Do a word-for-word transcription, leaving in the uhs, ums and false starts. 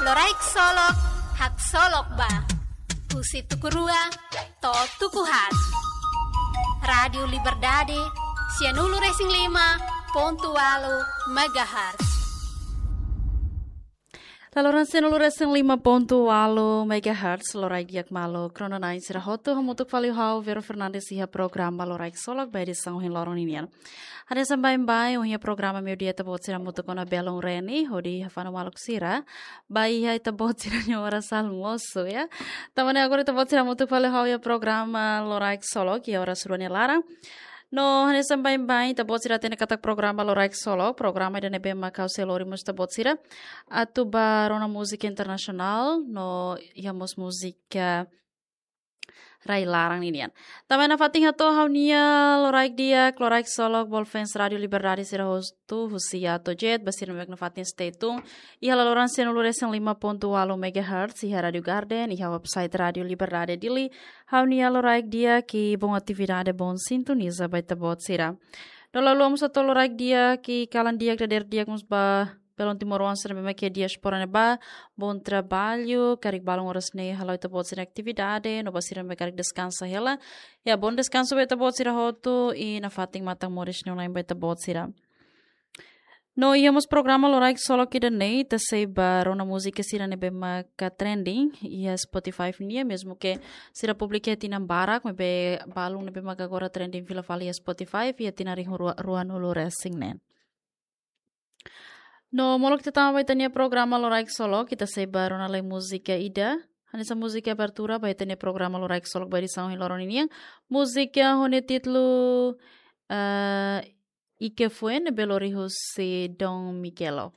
Loraik Solok, haksolok ba. Husi tuku rua to'o tuku haat. Rádiu Liberdade, sianulu-resin-lima pontu ualu megahertz. Laloran sianulu-resin-lima pontu ualu megahertz, loraik di'ak maluk rona-na'in sira hotu, hamutuk fali ho ha'u Vero Fernandes iha programa Loraik Solok ba edisaun ohin loron ninian. Hanesan baibain, ohin iha programa meiudia ita-boot sira hamutuk ona belun Reni, hodi hafanu maluk sira ba iha ita-boot sira-nia oras almosu, ya. Tanba ne'e agora ita-boot sira hamutuk fali ho ha'u iha programa Loraik Solok iha oras rua nia laran. No hanesan baibain, ita-boot sira hatene katak programa Loraik Solok, programa ida ne'ebé mak ha'u sei lori mós ita-boot sira atu ba rona múzika internasionál, no iha mós múzika rai-laran ninian. Tanba nafatin hato'o ha'u-nia loraik di'ak, loraik solok, bolu fans Rádiu Liberdade sira hotu, husi A to'o Z, ba sira ne'ebé nafatin stay tune iha laloran sianulu-resin-lima pontu ualu megahertz, iha Rádiu Garden, iha website Rádiu Liberdade Dili, ha'u-nia loraik di'ak i bom atividade, bom sintoniza ba ita-boot sira. No la'o mós hato'o loraik di'ak i kalan di'ak, dadeer di'ak mós ba belun timoroan sira ne'ebé mak iha diáspora ne'ebá, bom trabalho, karik balun oras ne'e hala'o ita-boot sira-nia atividade, no ba sira ne'ebé karik deskansa hela, ya, bom deskansu ba ita-boot sira hotu, i nafatin matan moris ne'e online ba ita-boot sira. No iha mós programa Loraik Solok ida-ne'e, ita sei ba rona múzika sira ne'ebé maka trending iha Spotify nian, mezmu ke sira publika iha tinan barak, maibé balun ne'ebé maka agora trending fila fali iha Spotify, iha tinan rihun rua, ruanulu-resin-neen. No molok ita tama ba ita-nia programa Loraik Solok, ita sei ba rona lai múzika ida. Hanesan múzika abertura ba ita-nia programa Loraik Solok ba edisaun ohin loron ninian. Múzika ho nia títulu, eh, Ike Fuen, ne'ebé lori husi Don Miguelo.